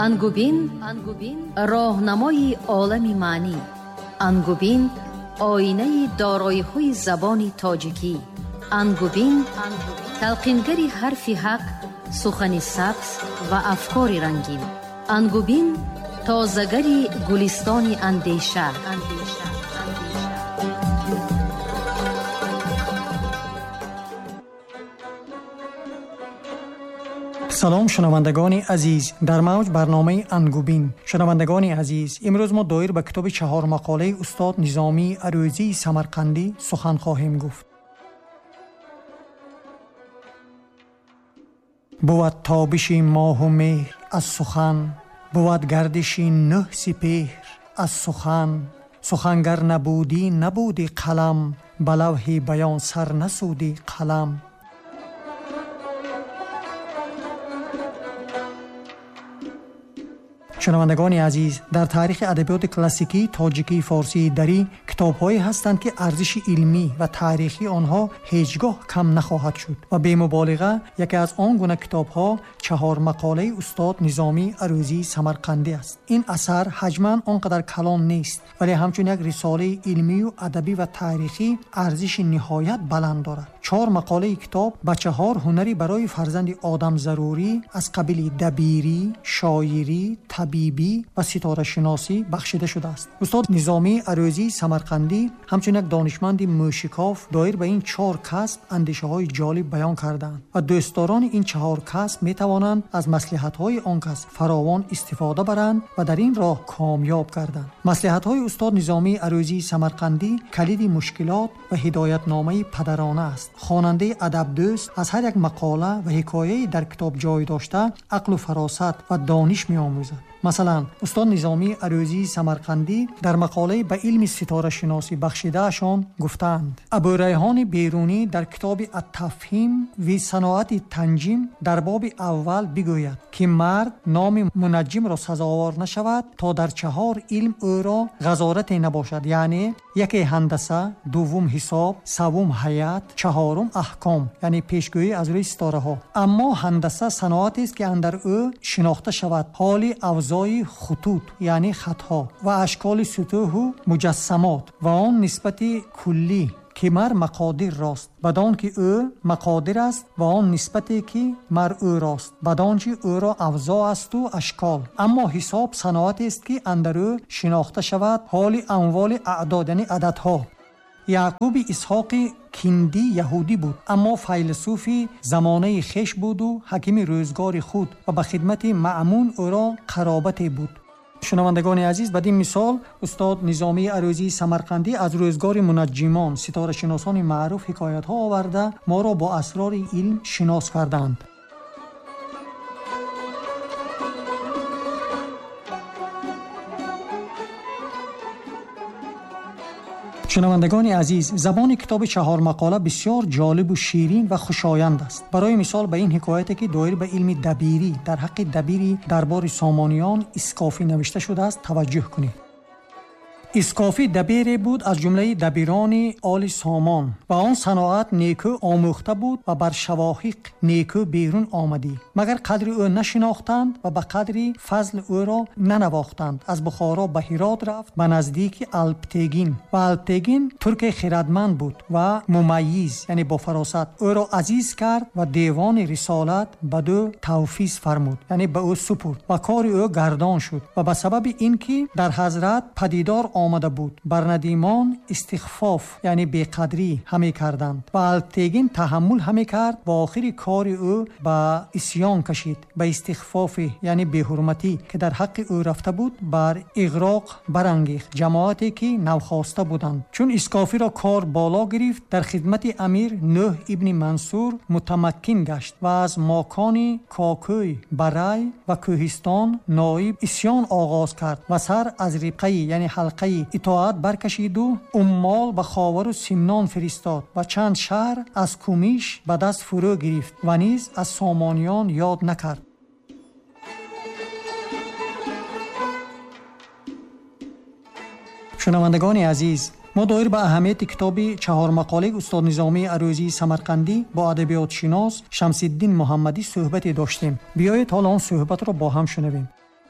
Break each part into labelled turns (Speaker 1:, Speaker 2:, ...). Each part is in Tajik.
Speaker 1: Ангубин роҳнамои олами маънӣ. Ангубин оинаи дороиҳои забони тоҷикӣ. Ангубин талқингари ҳарфи ҳақ, сухани сабз ва афкори рангин. Ангубин тозагари гулистони андеша.
Speaker 2: Салом, шунавандагони азиз, дар мавҷ барномаи Ангубин. Шунавандагони азиз, имрӯз мо доир ба китоби чаҳормақолаи устод Низомии Арӯзии Самарқандӣ сухан хоҳем гуфт. Бувад тобиши моҳу меҳр аз сухан, бувад гардиши нӯҳ сипеҳр аз сухан. Сухангар набудӣ, набуди қалам, ба лавҳи баён сар насуди қалам. Шунавандагони азиз, дар таърихи адабиёти классикии тоҷикии форсии дарӣ китобҳое ҳастанд, ки арзиши илмӣ ва таърихии онҳо ҳеҷ гоҳ кам нахоҳад шуд ва бемуболиға яке аз он гуна китобҳо чаҳормақолаи устод Низомии Арӯзии Самарқандӣ аст. Ин асар ҳаҷман он қадар калон нест, вале ҳамчун як рисолаи илмию адабӣ ва таърихӣ арзиши ниҳоят баланд дорад. Чор мақолаи китоб ба чаҳор ҳунари барои фарзанди одам зарурӣ аз қабили дабирӣ, шоирӣ, табибӣ ва ситорашиносӣ бахшида шудааст. Устод Низомии Арӯзии Самарқандӣ ҳамчун як донишманди мӯшикоф доир ба ин чор касб андешаҳои ҷолиб баён кардаанд ва дӯстдорони ин чаҳор касб метавонанд аз маслиҳатҳои он кас фаровон истифода баранд ва дар ин роҳ комёб гарданд. Маслиҳатҳои устод Низомии Арӯзии Самарқандӣ калиди мушкилот ва ҳидоятномаи падарона аст. Хонандаи адабдӯст аз ҳар як мақола ва ҳикояе дар китоб ҷой дошта ақлу фаросат ва дониш меомӯзад. Масалан, устод Низомии Арӯзии Самарқандӣ дар мақолаи ба илми ситорашиносӣ бахшидаашон гуфтаанд: Абӯрайҳони Берунӣ дар китоби Ат-Тафҳим ви саноати танҷим дар боби аввал бигӯяд, ки мард номи мунаҷҷимро сазовор нашавад то дар чаҳор илм ӯро ғазорате набошад, яъне яке ҳандаса, дуввум ҳисоб, севум ҳаят, чаҳорум аҳком, яъне пешгӯӣ аз рӯи ситораҳо. Аммо ҳандаса саноатест, ки андар ӯ шинохта шавад ҳоли авзои хутут, яъне хатҳо ва ашколи сутӯҳу муҷассамот ва он нисбати куллӣ ки мар мақодир рост, бадон ки ӯ мақодир аст ва он нисбате ки мар ӯ рост, бадон чи ӯро авзо асту ашкол. Аммо ҳисоб саноатест, ки андар ӯ шинохта шавад ҳоли амволи аъдод, яъне ададҳо. Яъқуби Исҳоқи Киндӣ яҳудӣ буд, аммо файласуфи замонаи хеш буду ҳакими рӯзгори худ ва ба хидмати Маъмун ӯро қаробате буд. Шунавандагони азиз, бад ин мисол устод Низомии Арӯзии Самарқандӣ аз рӯзгори мунаҷҷимон, ситорашиносони маъруф ҳикоятҳо оварда моро бо асрори илм шинос карданд. Шунавандагони азиз, забони китоби чаҳормақола бисёр ҷолибу ширин ва хушоянд аст. Барои мисол ба ин ҳикояте, ки доир ба илми дабирӣ дар ҳаққи дабири дарбори Сомониён Искофӣ навишта шудааст, таваҷҷӯҳ кунед. Искофӣ дабире буд аз ҷумлаи дабирони оли Сомон ва он саноат некӯ омӯхта буд ва бар шавоҳиқ некӯ берун омадӣ, магар қадри ӯ нашинохтанд ва ба қадри фазл ӯро нанавохтанд. Аз Бухоро ба Ҳирот рафт ба наздики Алптегин ва Алптегин турке хирадманд буд ва мумайиз, яъне бо фаросат, ӯро азиз кард ва девони рисолат ба ӯ тавфиз фармуд, яъне ба ӯ супурд ва кори ӯ гардон шуд ва ба сабаби ин ки дар ҳазрат падидор омада буд, бар надимон истихфоф, яъне беқадрӣ ҳаме карданд ва Алптегин таҳаммул ҳаме кард ва охири кори ӯ ба исьён кашид, ба истихфофи, яъне беҳурматӣ, ки дар ҳаққи ӯ рафта буд, бар иғроқ барангехт ҷамоате ки навхоста буданд. Чун Искофиро кор боло гирифт, дар хидмати амир Нӯҳ ибни Мансур мутамаккин гашт ва аз мокони Кокӯй, Барай ва Кӯҳистон ноиб исьён оғоз кард ва сар аз рибқаи, яъне ҳалқаи итоат баркашиду уммол ба Ховару Симнон фиристод ва чанд шаҳр аз Кумиш ба даст фурӯ гирифт ва низ аз Сомониён ёд накард. Шунавандагони азиз, мо доир ба аҳамияти китоби чаҳормақолаи устод Низомии Арӯзии Самарқандӣ бо адабиётшинос Шамсиддин Муҳаммадӣ суҳбате доштем. Биёед ҳоло он суҳбатро бо ҳам шунавем.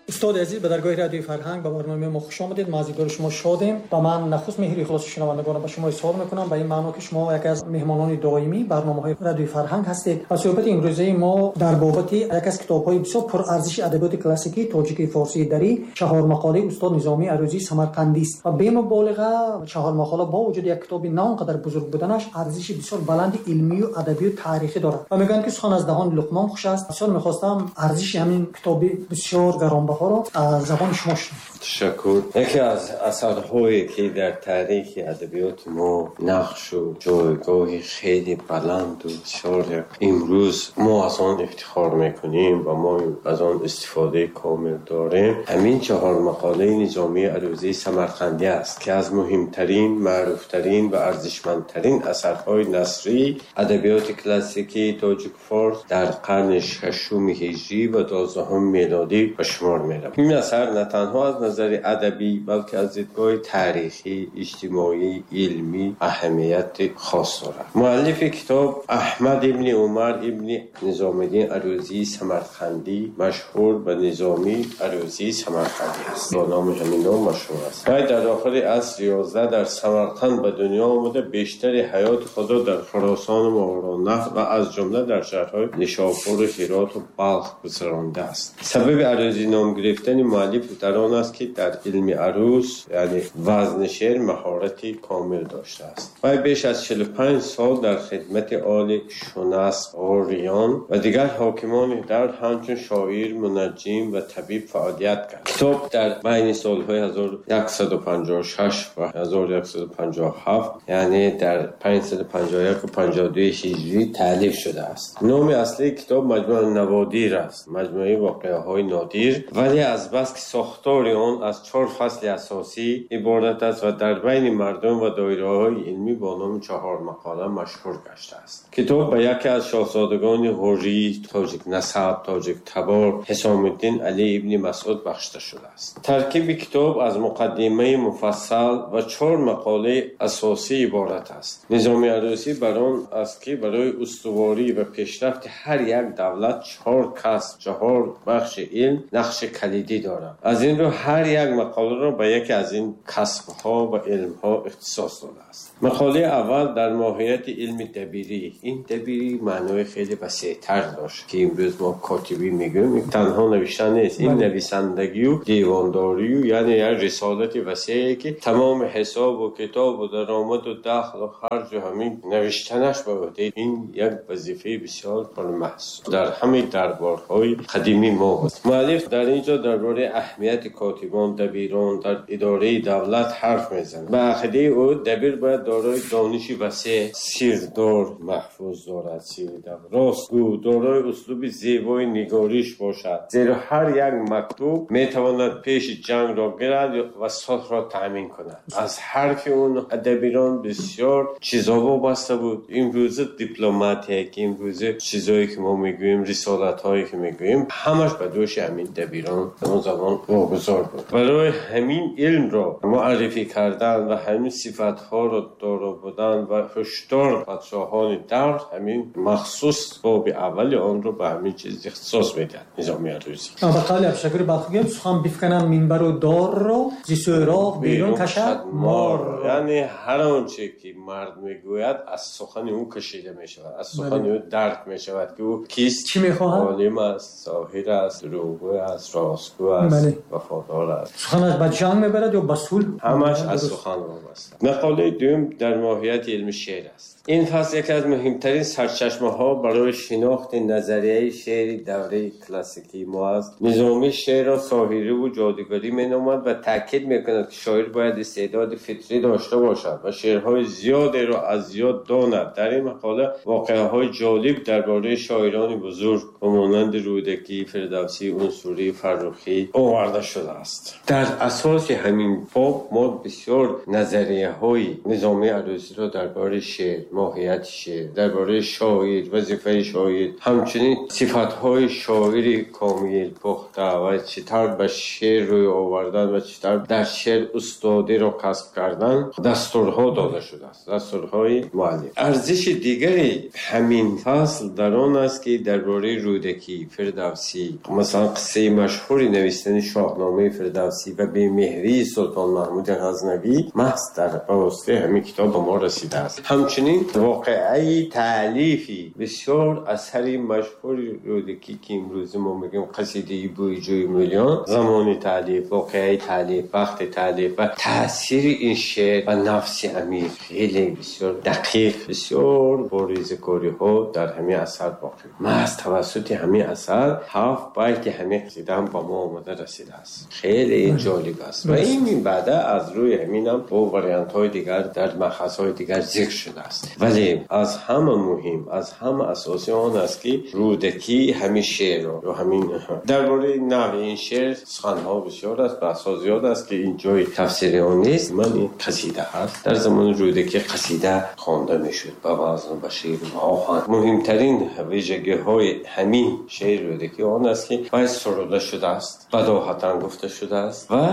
Speaker 2: Устоди азиз, ба даргоҳи Радиои Фарҳанг ба барномаи мо хуш омадед. Мо аз дидори шумо шодем ва ман нахуст меҳри ихлоси шунавандагонро ба шумо изҳор мекунам, ба ин маъно ки шумо яке аз меҳмонони доимии барномаҳои Радиои Фарҳанг ҳастед ва суҳбати имрӯзаи мо дар бобати яке аз китобҳои бисёр пурарзиши адабиёти классикии тоҷикии форсии дарӣ, чаҳор мақолаи устод Низомии Арӯзии Самарқандӣ аст ва бемуболиға чаҳор мақола бо вуҷуди як китоби на он қадар бузург буданаш арзиши бисёр баланди илмию адабию таърихӣ дорад ва мегӯянд ки сухан аз даҳони Луқмон хуш аст. Бисёр мехостам арзиши ҳамин китоби бисёр гаронбаҳоро аз забони шумо шунавам.
Speaker 3: Ташаккур. Яке аз асарҳое ки дар таърихи адабиёти мо нақшу ҷойгоҳи хеле баланду бисёр имрӯз мо аз он ифтихор мекунем ва мо аз он истифодаи комил дорем, ҳамин чаҳор мақолаи Низомии Арӯзии Самарқандӣ аст ки аз муҳимтарин, маъруфтарин ва арзишмандтарин асарҳои насрии адабиёти классикии тоҷик-форс дар қарни шашуми ҳиҷрӣ ва 12 мелодӣ ба шумор меравад. Ин асар на танҳо аз назари адабӣ, балки аз дидгоҳи таърихӣ, иҷтимоӣ, илмӣ аҳамияти хос дорад. Муаллифи китоб Аҳмад ибни Умар ибни Низомиддин Арӯзии Самарқандӣ, машҳур ба Низомии Арӯзии Самарқандӣ аст. Бо номи ҳамин ном машҳур аст. Вай дар охири асри 11 дар Самарқанд ба дунё омада, бештари ҳаёти худро дар Хуросон ва Мовароуннаҳр ва аз ҷумла дар шаҳрҳои Нишопур, Ҳирот ва Балх гузарондааст. Сабаби арӯзӣ ном гирифтани муаллиф дар он аст ки дар илми арӯз, яъне вазни шеър, маҳорати комил доштааст. Вай беш аз 45 сол дар хидмати оли Шунас, Ғуриён ва дигар ҳокимони давр ҳамчун шоир, мунаҷҷим ва табиб фаъолият кард. Китоб дар байни солҳои 1156 ва 1157, яъне дар 551 ва 52 ҳиҷрӣ таълиф шудааст. Номи аслии китоб Маҷмӯаи Наводир аст, маҷмӯаи воқеаҳои нодир, вале аз бас ки сохтори он аз чаҳор фасли асосӣ иборат аст ва дар байни мардум ва доираҳои илмӣ бо номи чаҳор мақола машҳур гаштааст. Китоб ба яке аз шоҳзодагони ғурӣ, тоҷик насаб, тоҷик табор, Ҳисомиддин Алӣ ибни Масъуд бахшида шудааст. Таркиби китоб аз муқаддимаи муфассал ва чаҳор мақолаи асосӣ иборат аст. Низоми Арӯзӣ бар он аст ки барои устуворӣ ва пешрафти ҳар як давлат чаҳор касб, чаҳор бахши илм нақши калидӣ дорад. Аз ин рӯ ҳар як мақоларо ба яке аз ин касбҳо ва илмҳо ихтисос додааст. Мақолаи аввал дар моҳияти илми дабирӣ. Ин дабирӣ маънои хеле васеътар дошт ки имрӯз мо котибӣ мегӯем. Ин танҳо навиштан нест, ин нависандагию девондорию, яъне як рисолати васеъе ки тамоми ҳисобу китобу даромаду дахлу харҷу ҳамин навиштанаш ба уҳдаи ин як вазифаи бисёр пурмаҳсул дар ҳамаи дарборҳои қадимии мо буд. Муаллиф дар ин ҷо дар бораи аҳамияти котибон, дабирон дар идораи давлат ҳарф мезанад. Ба ақидаи ӯ дабир бояд дорои дониши васеъ, сирдор, маҳфуз дорад, сирдор, ростгӯ, дорои услуби зебои нигориш бошад, зеро ҳар як мактуб метавонад пеши ҷангро гирад ва сулҳро таъмин кунад. Аз ҳарфи он дабирон бисёр чизо вобаста буд. Имрӯза дипломатия, ки имрӯза чизое ки мо мегӯем, рисолатҳое ки мегӯем, ҳамаш ба дӯши ҳамин дабирон он замон вогузор буд. Барои ҳамин илмро муаррифӣ кардан ва ҳамин сифатҳоро доро будан ва ҳушдор подшоҳони давр, ҳамин махсус боби аввали онро ба ҳамин чиз ихтисос медиҳад Низоми Арӯзӣ.
Speaker 2: Ба қавли Абдушакури Балхӣ гӯем, сухан бифкананд минбару дорро, зи сӯроғ берун кашад морро.
Speaker 3: Яъне ҳар он че ки мард мегӯяд аз сухани ӯ кашида мешавад, аз сухани ӯ дарк мешавад ки ӯ кист,
Speaker 2: чӣ мехоҳад,
Speaker 3: олим аст, соҳир аст, дурӯғгӯ аст, ростгӯ аст, вафодор аст.
Speaker 2: Суханаш ба ҷанг мебарад ё ба сулҳ,
Speaker 3: ҳамаш аз сухан вобаста. Мақолаи дуюм дар моҳияти илми шеър аст. Ин фасл яке аз муҳимтарин сарчашмаҳо барои шинохти назарияи шеъри давраи классикии мо аст. Низомӣ шеърро соҳирӣ ва ҷодугарӣ меномад ва таъкид мекунад ки шоир бояд истеъдоди фитрӣ дошта бошад ва шеърҳои зиёдеро аз ёд донад. Дар ин мақола воқеаҳои ҷолиб дар бораи шоирони бузург ба монанди Рӯдакӣ, Фирдавсӣ, Унсурӣ, Фаррухӣ оварда шудааст. Дар асоси ҳамин боб мо бисёр назарияҳои Низомии Арӯзиро дар бораи шеър, моҳияти шеър, дар бораи шоир, вазифаи шоир, ҳамчунин сифатҳои шоири комил, пухта ва чӣ тавр ба шеър рӯй овардан ва чӣ тавр дар шеър устодиро касб кардан дастурҳо дода шудааст, дастурҳои муаллиф. Арзиши дигари ҳамин фасл дар он аст ки дар бораи Рӯдакӣ, Фирдавсӣ, масалан қиссаи машҳур машҳури навиштани Шоҳномаи Фирдавсӣ ва бемеҳрии Султон Маҳмуди Ғазнавӣ маҳз дар воситаи ҳамин китоб ба мо расидааст. Ҳамчунин воқеаи таълифи бисёр асари машҳури Рӯдакӣ, ки имрӯз мо мегӯем қасидаи Бӯи ҷӯи Мӯлиён, замони таълиф, воқеаи таълиф, вақти таълиф ва таъсири ин шеър ба нафси амир хеле бисёр дақиқ, бисёр бо резакориҳо дар ҳамин асар боқӣ. Маҳз тавассути ҳамин асар 7 байти ҳамин қасида ҳам ба мо омада расидааст. Хеле ҷолиб аст ва ин баъда аз рӯи ҳамин ҳам бо вариантҳои дигар дар махазҳои дигар зикр шудааст. Вале аз ҳама муҳим, аз ҳама асосӣ он аст, ки Рӯдакӣ ҳамин шеърро ё ҳамин дар бораи навъи ин шеър суханҳо бисёр аст, баҳсҳо зиёд аст, ки ин ҷои тафсири он нест. Ман ин қасида ҳаст. Дар замони Рӯдакӣ қасида хонда мешуд ба вазн, ба шеър ва оҳанг. Муҳимтарин вижагиҳои ҳамин шеъри Рӯдакӣ он аст, ки вай суруда шудааст, бадоҳатан гуфта шудааст ва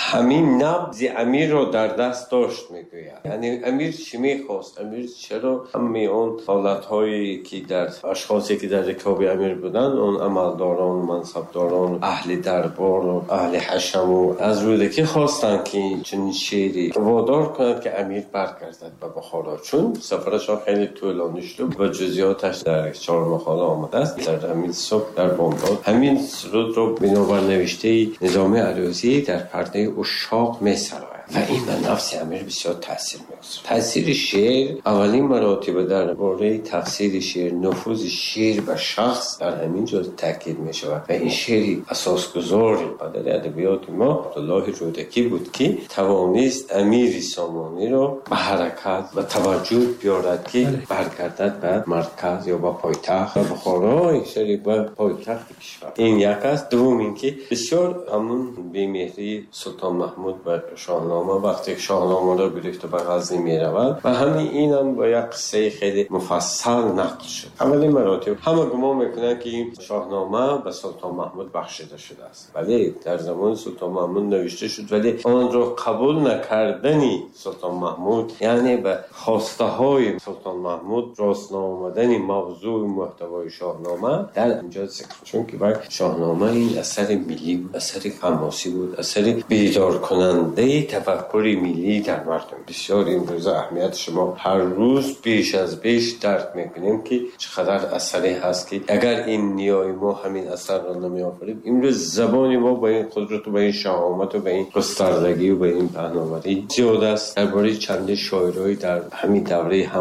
Speaker 3: ҳамин набзи амирро дар даст дошт, мегӯяд. Яъне амир чӣ мехост? Амир чаро ҳамаи он ҳолатҳое ки дар ашхосе ки дар рикоби амир буданд, он амалдорон, мансабдорон, аҳли дарбор ва аҳли ҳашаму аз Рӯдакӣ хостанд, ки чунин шеъре водор кунад, ки амир баргардад ба Бухоро, чун сафарашон хеле тӯлонӣ шуд ва ҷузъиёташ дар 4 мақола омадааст. Дар ҳамин субҳ, дар бомдод ҳамин сурудро бинобар навиштаи Низоми Арӯзӣ дар пардаи ушшоқ месарояд ва ин ба нафси амир бисёр таъсир мегузорад. Таъсири шеър аввалин маротиба дар бораи тафсири шеър, нуфузи шеър ба шахс дар ҳамин ҷо таъкид мешавад ва ин шеъри асосгузори падари адабиёти мо Абдуллоҳи Рӯдакӣ буд, ки тавонист амири Сомониро ба ҳаракат ва таваҷҷӯҳ биёрад, ки баргардад ба марказ ё ба пойтахт, ба Бухоро, шаҳри ба пойтахти кишвар. Ин як аст. Дуввум ин ки бисёр ҳамун бемеҳрии Султон Маҳмуд ба Шоҳнома, вақте ки Шоҳномаро гирифта ба Ғазни меравад ва ҳамин инам бо як қиссаи хеле муфассал нақл шуд. Аввалин маротиб ҳама гумон мекунанд, ки ин Шоҳнома ба Султон Маҳмуд бахшида шудааст, вале дар замони Султон Маҳмуд навишта шуд, вале онро қабул накардани Султон Маҳмуд, яъне ба хостаҳои Султон Маҳмуд рост наомадани мавзӯи муҳтавои Шоҳнома дар инҷо зикр, чунки вай Шоҳнома ин асари миллӣ буд, асари ҳамосӣ буд, асари бедоркунандаи тафаккури миллӣ дар мардум. Бисёр имрӯза аҳамияти шумо ҳар рӯз беш аз беш дарк мекунем, ки чӣ қадар асаре ҳаст, ки агар ин ниёи мо ҳамин асарро намеофарид, имрӯз забони мо ба ин қудрат ва ба ин шаҳомат ва ба ин густардагӣ ва ба ин паҳноварӣ зиёд аст. Дар бораи чанде шоирҳои дар ҳамин давраи